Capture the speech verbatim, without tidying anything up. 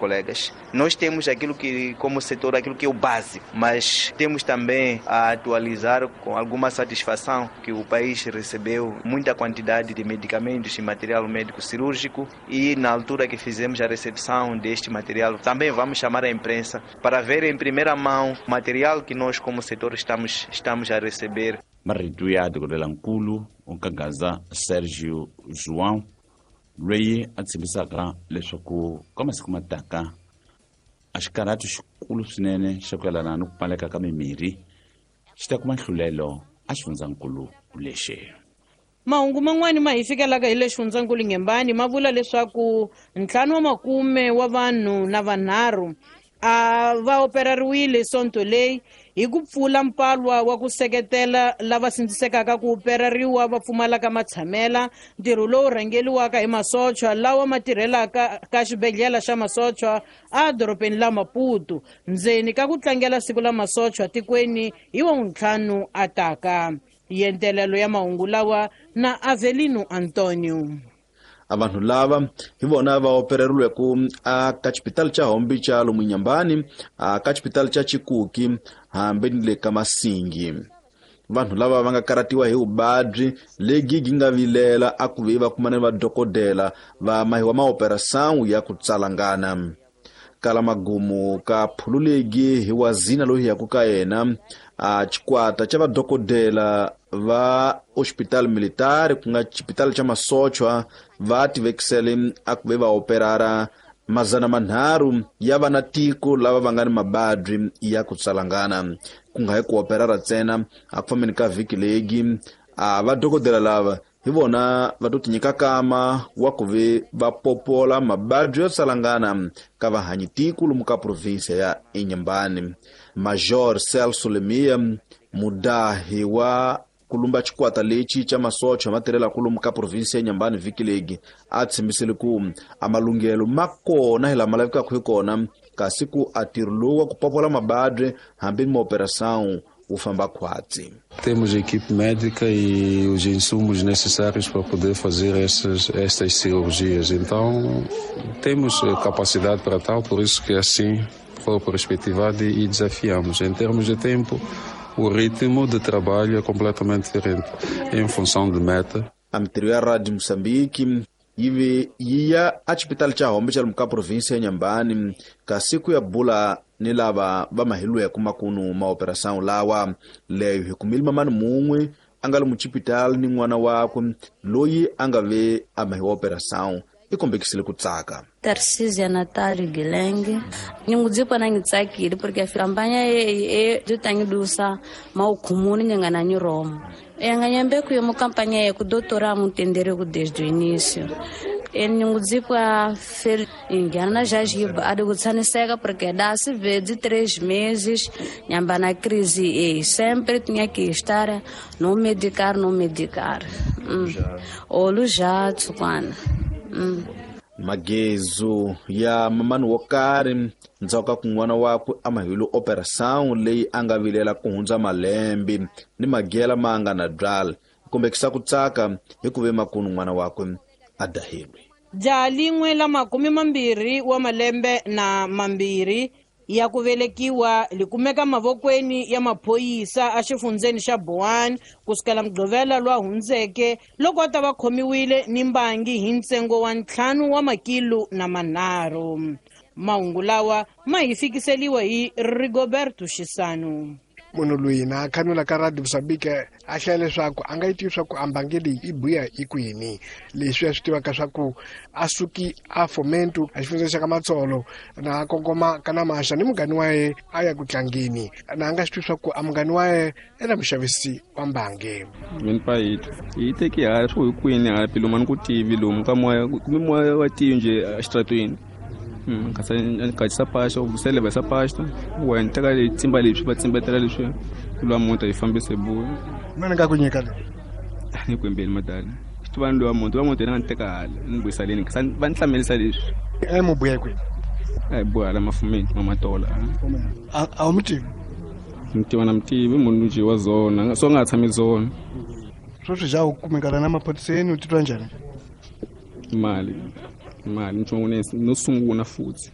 Colegas, nós temos aquilo que, como setor, aquilo que é o básico, mas temos também a atualizar com alguma satisfação que o país recebeu muita quantidade de medicamentos e material médico cirúrgico e na altura que fizemos a recepção deste material, também vamos chamar a imprensa para ver em primeira mão o material que nós como setor estamos, estamos a receber. Marito ya dokodela nkulu Nkagaza Sérgio João loyi a tshembisaka leswaku ka masiku ma taka a xikarhato xikulu swinene xa ku yelana ni ku pfaleka ka mimirhi xi ta kuma nhlulelo a xifundzankulu lexi. Mahungu man'wani ma hi fikelaka hi le xifundzankulu Ngembani ma vula leswaku ntlhanu wa makume wa vanhu na vanharhu a va operariwile sonto leyi hi ku pfula mpalwa wa ku seketela lava sindzisekaka ku operariwa va pfumalaka matshamela, ntirho lowu rhangeliwaka hi masochwa lawa ma tirhelaka ka xibedhlele xa masochwa a dorobeni la Maputo ndzeni ka ku tlangela siku la masochwa tikweni hi wa ntlhanu a taka. Yentelelo ya mahungu lawa na Avelino Antonio. A vanhu lava hi vona va opereriweke a ka xipitali xa Hombi xa lomu Nyambani, a ka xipitali xa Chikuki hambi ni le ka Masingi. Vanhu lava va nga karatiwa hi vuvabyi lebyi byi nga vilela a ku ve va kumana ni vadokodela va mahiwa maoperação ya ku tsalangana. Kala magumu ka phululegi hi wazina loyi yaku ka yena a xikwata xa vadokodela va hospital militar ku nga xipitali xa masochwa va tivekisele a ku ve va operara mazana manharhu ya vana tiko lava va nga ni mabadyi ya ku tsalangana. Ku nga hi ku operara ntsena a ku fambeni ka vhiki legi a vadokodela lava hi vona va to tinyika kama wa ku ve va popola mabadyi yo tsalangana ka vahanyi tiko lomu ka provinsia ya Inhambane. Major Celso Lemia mudahi wa kulumba xikwata lexi xa masocha ma tirhelaka lomu ka provinsia ya Inhambane vhiki legi a tshembisile ku a malunghelo ma kona hi lama lavekaka hi kona kasi ku a ntirho lowu wa ku popola mabadyi hambi ni maoperação wu famba khwatsi. Temos equipe médica e os insumos necessários para poder fazer essas, estas cirurgias. Então, temos capacidade para tal, por isso que assim foi perspectivado e desafiamos. Em termos de tempo, o ritmo de trabalho é completamente diferente, em função de meta. A mintirho ya Radio Moçambique yi ve yi ya a xipitali xa Hombi xa lomu ka provinsia ya Inhambane kasi ku ya bula ni lava va mahilweke makunu maoperação lawa leyo hi kumile mamani mun'we a nga lomu xipitali ni n'wana wakwe loyi a nga ve a mahiwa operação i kombekisile ku tsaka. Tarcísia Natália Guilherme, ningudzipa na ngitsakile porque a campanha e e tangidusa maukhumuni nyangana ni Roma. Enganyembe ku yo campanha e ku doutora mutendere ku desde o início. E ningudzipa fel ingana já jiba ade kutsaniseka porque dá se vê de três meses nyamba na crise e sempre tinha que estar no medicar no medicar. Mm. Olu já tsukwana. Mm. Magezu ya mamani wo karhi ndzhaku ka ku n'wana wakwe a mahile operação leyi a nga vilela ku hundza malembe ni magela ma nga na byala kombekisa ku tsaka hi ku ve makunu n'wana wakwe a dahilwe. Jaha lin'we la makume mambirhi wa malembe na mambirhi ya ku velekiwa li kumeka mavokweni ya maphorisa a xifundzeni xa Boane kusukela Mugqivela lwa hundzeke loko a ta va khomiwile ni mbangi hi ntsengo wa ntlhanu wa makilo na manharhu. Mahungu lawa ma hi fikiseliwa hi Rigoberto Xisano. Munhu loyi na khanula ka Radio Moçambique a hlaya leswaku a nga yi tivi swa ku ambange leyi i buya hi kwini leswi a swi tivaka swa ku a suki a Fomento a xifundzeni xa ka Matsolo na kongoma ka Namasha ni munghani wa ye a ya ku tlangeni na a nga swi tivi swa ku a munghani wa ye i na muxavisi wa mbange. Mina pa yi yi teki hala swo hi kwini hala pilomu a ni ku tivi lomu ka moya kumbe moya wa tivi nje exitratweni. Nkatisa pasta u leva essa pasta u teka tsimba leswi va tsimbetela leswi lwa muti yi fambise buya. Mina nga ku nyika le ni ku embeli madala xi tiva ni lowa muti wa muti yena nga ni teka hala ni vuyisa leni va ni hlamelisa leswi. E mu buya kwini? A hi buya hala mafumeni mamatola. A a wu mi tivi? Ni tiva na mi tivi munhu nje wa zona so nga tshami zona. Sweswi ja u kumekana na maphoriseni u titwa njhani? Mali mali nchumu no sungula futhi.